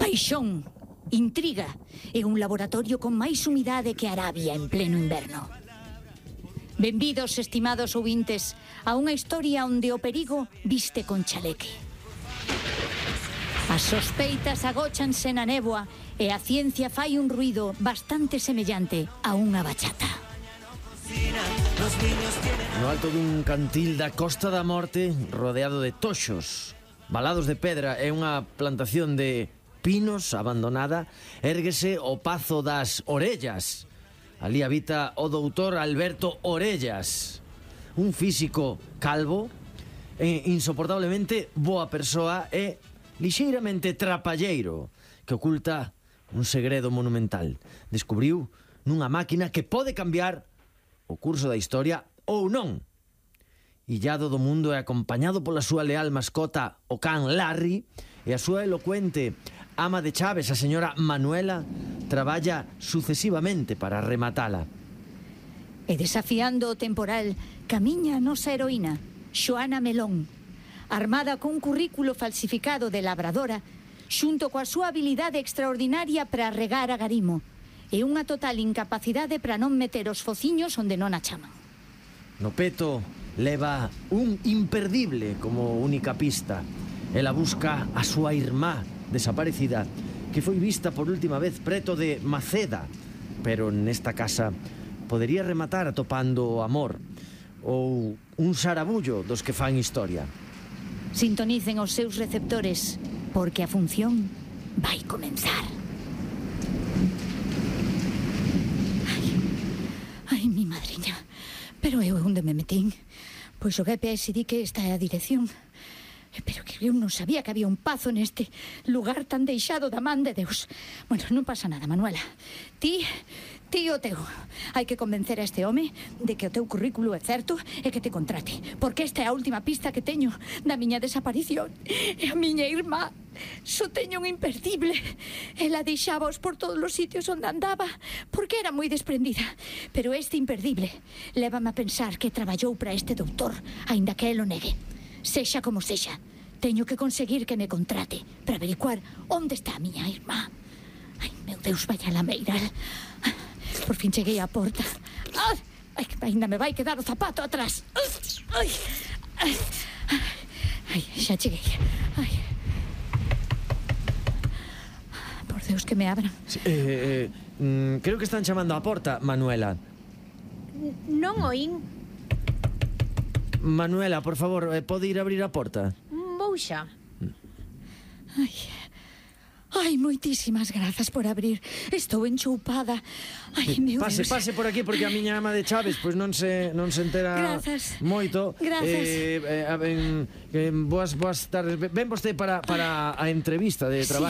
paixón, intriga e un laboratorio con máis humidade que Arabia en pleno inverno. Benvidos, estimados ouvintes, a unha historia onde o perigo viste con chaleque. As sospeitas agóchanse na néboa e a ciencia fai un ruido bastante semellante a unha bachata. No alto dun cantil da Costa da Morte, rodeado de toxos, valados de pedra e unha plantación de pinos abandonada, érguese o Pazo das Orellas. Ali habita o doutor Alberto Orellas, un físico calvo, insoportablemente boa persoa e lixeiramente trapalleiro, que oculta un segredo monumental. Descubriu nunha máquina que pode cambiar o curso da historia ou non. Illado do mundo e acompañado pola súa leal mascota, o can Larry, e a súa elocuente ama de chaves, a señora Manuela, traballa sucesivamente para rematala. E desafiando o temporal, camiña a nosa heroína, Xoana Melón, armada cun currículo falsificado de labradora, xunto coa súa habilidade extraordinaria para regar a garimo, e unha total incapacidade para non meter os fociños onde non a chaman. No peto leva un imperdible como única pista. Ela busca a súa irmá desaparecida, que foi vista por última vez preto de Maceda, pero nesta casa podería rematar atopando o amor ou un sarabullo dos que fan historia. Sintonicen os seus receptores, porque a función vai comenzar. Ai, mi madriña, pero eu onde me metín? Pois o GPS di que esta é a dirección. Pero que eu non sabía que había un pazo neste lugar tan deixado da man de Deus. Bueno, non pasa nada, Manuela. Ti o teu. Hai que convencer a este home de que o teu currículo é certo e que te contrate. Porque esta é a última pista que teño da miña desaparición. E a miña irmá só teño un imperdible. Ela deixábaos por todos os sitios onde andaba porque era moi desprendida. Pero este imperdible lévame a pensar que traballou para este doutor, aínda que el o negue. Sexa como sexa, teño que conseguir que me contrate para averiguar onde está a miña irmá. Ai, meu Deus, vaya lameiral. Por fin cheguei á porta. Ai, ainda me vai quedar o zapato atrás. Ai, xa cheguei. Ai. Por Deus, que me abran. Creo que están chamando á porta, Manuela. Non oín. Manuela, por favor, pode ir abrir a porta? Vou xa. Ai, moitísimas grazas por abrir. Estou enchoupada. Ai, meu Deus. Pase por aquí porque a miña ama de chaves pois non se entera Grazas. moito. Grazas. Boas tardes. Ven vostede para a entrevista de traballo.